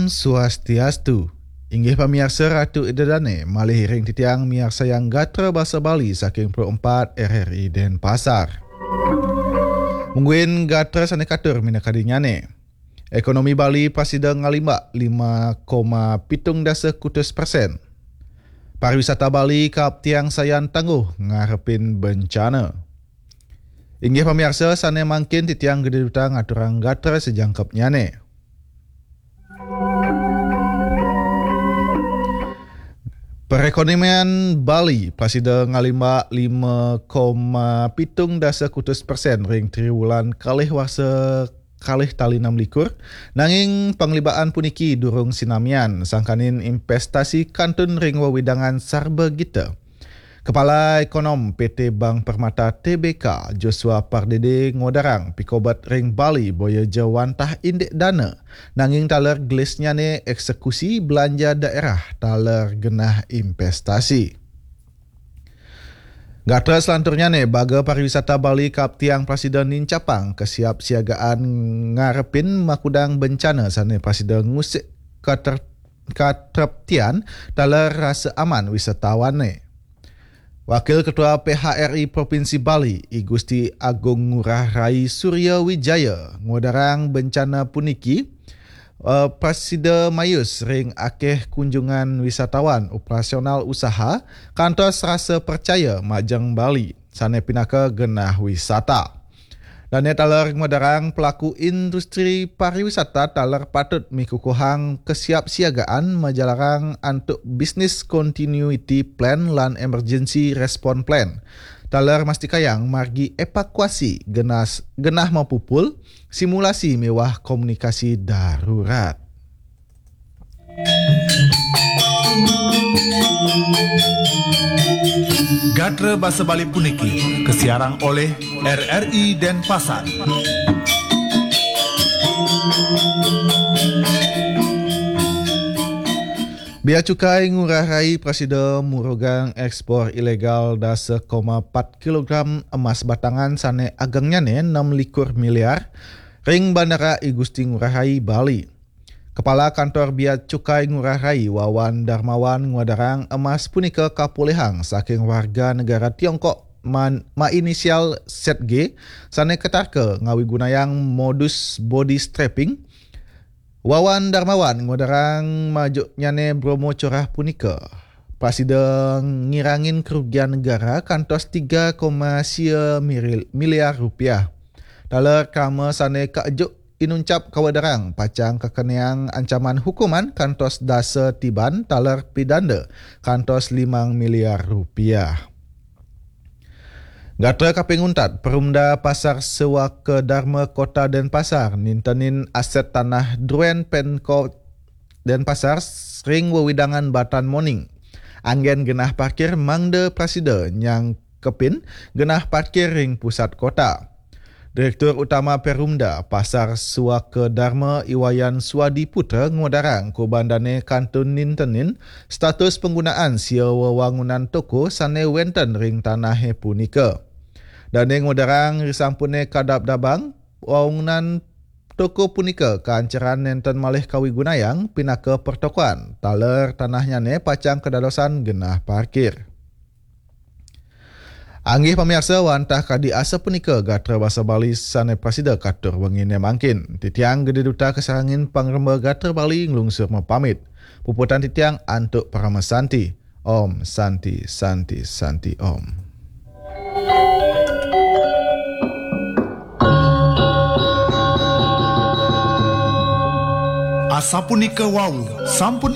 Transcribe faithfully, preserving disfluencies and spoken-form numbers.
Swastiastu. Inggih pamiarsa, Ratu Ida Dane, malih iring titiang miarsayang gatra basa Bali saking Pro empat R R I Denpasar. Mungguing gatra sane katur minakadinyane. Ekonomi Bali prasida ngalimbak lima koma pitung dasa kutus persen. Pariwisata Bali kaaptiang sayan tangguh ngarepin bencana. Inggih pamiarsa, sane mangkin titiang Gede Duta ngaturang gatra sajangkepnyane. Perekonomian Bali prasida ngalimbak lima koma pitung dasa kutus persen ring triwulan kalih warsa kalih tali enam likur, nanging panglibakan puniki durung sinamian, sangkaning investasi kantun ring wewidangan sarba gita. Kepala Ekonom P T Bank Permata T B K, Joshua Pardede, ngodarang pikobet ring Bali boya ja wantah indik dana, nanging taler gelisnyane eksekusi belanja daerah taler genah investasi. Gatra selanturnyane, baga pariwisata Bali kaaptiang prasida nincapang kesiapsiagaan ngarepin makudang bencana sane prasida ngusik kater-, katreptian taler rasa aman wisatawane. Wakil Ketua P H R I Provinsi Bali, I Gusti Agung Ngurah Rai Surya Wijaya, ngodarang bencana puniki, eh, prasida mayus ring akeh kunjungan wisatawan, operasional usaha, kantos rasa percaya majeng Bali, sane pinaka genah wisata. Dane taler ngudarang pelaku industri pariwisata taler patut mikukuhang kesiapsiagaan majalarang antuk business continuity plan lan emergency response plan. Taler mastikayang margi evakuasi genas-, genah mapupul, simulasi miwah komunikasi darurat. Gatra basa Bali puniki kasiarang oleh R R I Denpasar. Bea Cukai Ngurah Rai prasida murugang ekspor ilegal dasa koma empat kilogram emas batangan sane agengnyane enam likur miliar ring Bandara I Gusti Ngurah Rai, Bali. Kepala Kantor Bea Cukai Ngurah Rai, Wawan Darmawan, ngudarang emas punika kapulihang saking warga negara Tiongkok man-, mainisial Z G, sane katarka ngawigunayang modus body strapping. Wawan Darmawan ngudarang majuknyane bromo curah punika prasida ngirangin kerugian negara kantos tiga koma sia miri-, miliar rupiah. Taler krama sane kaejuk inuncap kawedarang pacang kakeneang ancaman hukuman kantos dasa tiban taler pidanda kantos limang miliar rupiah. Gatra kaping untat, Perumda Pasar Sewaka Dharma Kota Denpasar nintenin aset tanah druen Pemkot Denpasar ring wewidangan Batan Moning. Anggen genah parkir mangda prasida nyangkepin genah parkir ring pusat kota. Direktur Utama Perumda Pasar Suaka Dharma, Iwayan Swadi Putra, ngudarang kuban dane kantun nintenin status panggunaan sia wewangunan toko sane wenten ring tanahe punika. Dane ngudarang risampune kadabdabang, wangunan toko punika kaancaran nenten malih kawigunayang pinaka pertokoan, taler tanahnyane pacang kadadosan genah parkir. Anggih pamiarsa, wantah kadi asapunika gatra basa Bali sane prasida katur wengine mangkin. Titiang Gede Duta kasarengin pangremba gatra Bali nglungsur mapamit. Puputang titiang antuk parama santi. Om Santi, Santi, Santi, Om. Asapunika wau, sampun